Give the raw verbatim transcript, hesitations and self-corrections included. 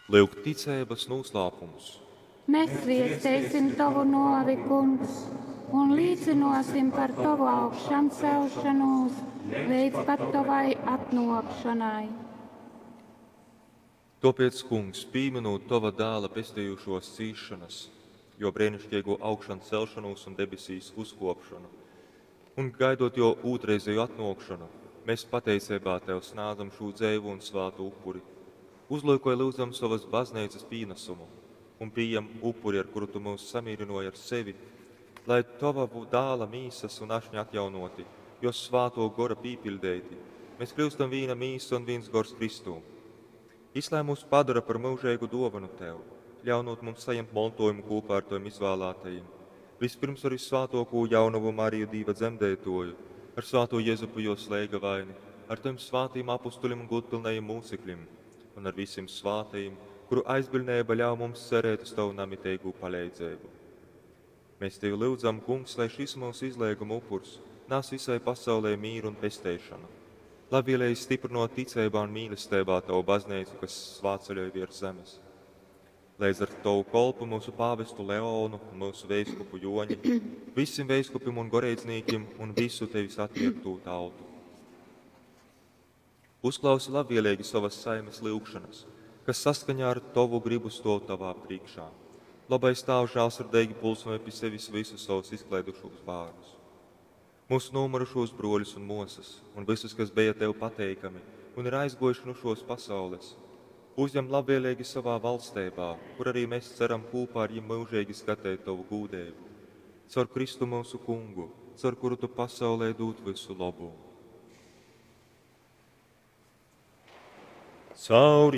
Lyuk ticeibas nūslāpums. Mēs zviesteisim tovu nōvi, Kungs, un līcynōsim par tovu augšamcelšonūs leidz pat tovai atnōkšonai. Tōpēc, Kungs, pīminūt tova dāla pestejušōs cīsšanas, jo brēniškeigō augšancelšanūs un debesīs uzkōpšonu, un gaidot jō ūtrreizēju atnōkšonu, mēs pateiceibā Tev snādzam šū dzeivu un svātu upuri. Uzlūkoj, lyudzam, sovas bazneicas pīnasumu un pījem upuri, ar kuru Tu myus samīrynōji ar sevi, lai Tova dāla mīsas un ašņa atjaunōti, jo svātō gora pīpiļdeiti, mēs kļūstam vīna mīsa un vīns gors Kristū. Jis lai mūs padara par myužeigu dōvanu Tev, ļaunot mums sajimt montojumu kopā ar Tavim izvēlētajiem. Vispirms ar vissvātōkū jaunavu Mariju Dīva dzemdētoju, ar svātū Jezupu jo slēgavaini, ar Tavim svātīm apustuļim un gūdpilnajiem mūcekļim, un ar visiem svātajiem, kuru aizbiļneiba ļauj mums cerēt uz Tavu namiteigū paleidzeibu. Mēs Tevi lyudzam, Kungs, lai šis mūsu izlieguma upurs nes visai pasaulē mīru un pesteišanu. Labvēlīgi stiprinot ticeibā un mīlestībā Tavu baznīcu, kas svātceļoj virs zemes. Līdz ar Tavu kolpu mūsu pāvestu Leonu un mūsu veiskupu Joņi, visiem veiskupim un goreidznīkim un visu Tevis atpirktū tautu. Uzklausi labvēlīgi savas saimes lyugšanas, kas saskaņā ar Tavu gribu stov Tavā priekšā. Labais Tēvs žēlsirdīgi pulsnoja pie sevis visus savus izklaidušos bērnus. Mūsu nomirušos broļus un mosas, un visus, kas bija Tev pateikami un ir aizgojuši no šos pasaules, uzņem labvēlīgi savā valstībā, kur arī mēs ceram kopā ar viņiem mūžīgi skatīt Tavu gūdību. Caur Kristu mūsu kungu, caur kuru Tu pasaulē dod visu labu. Caur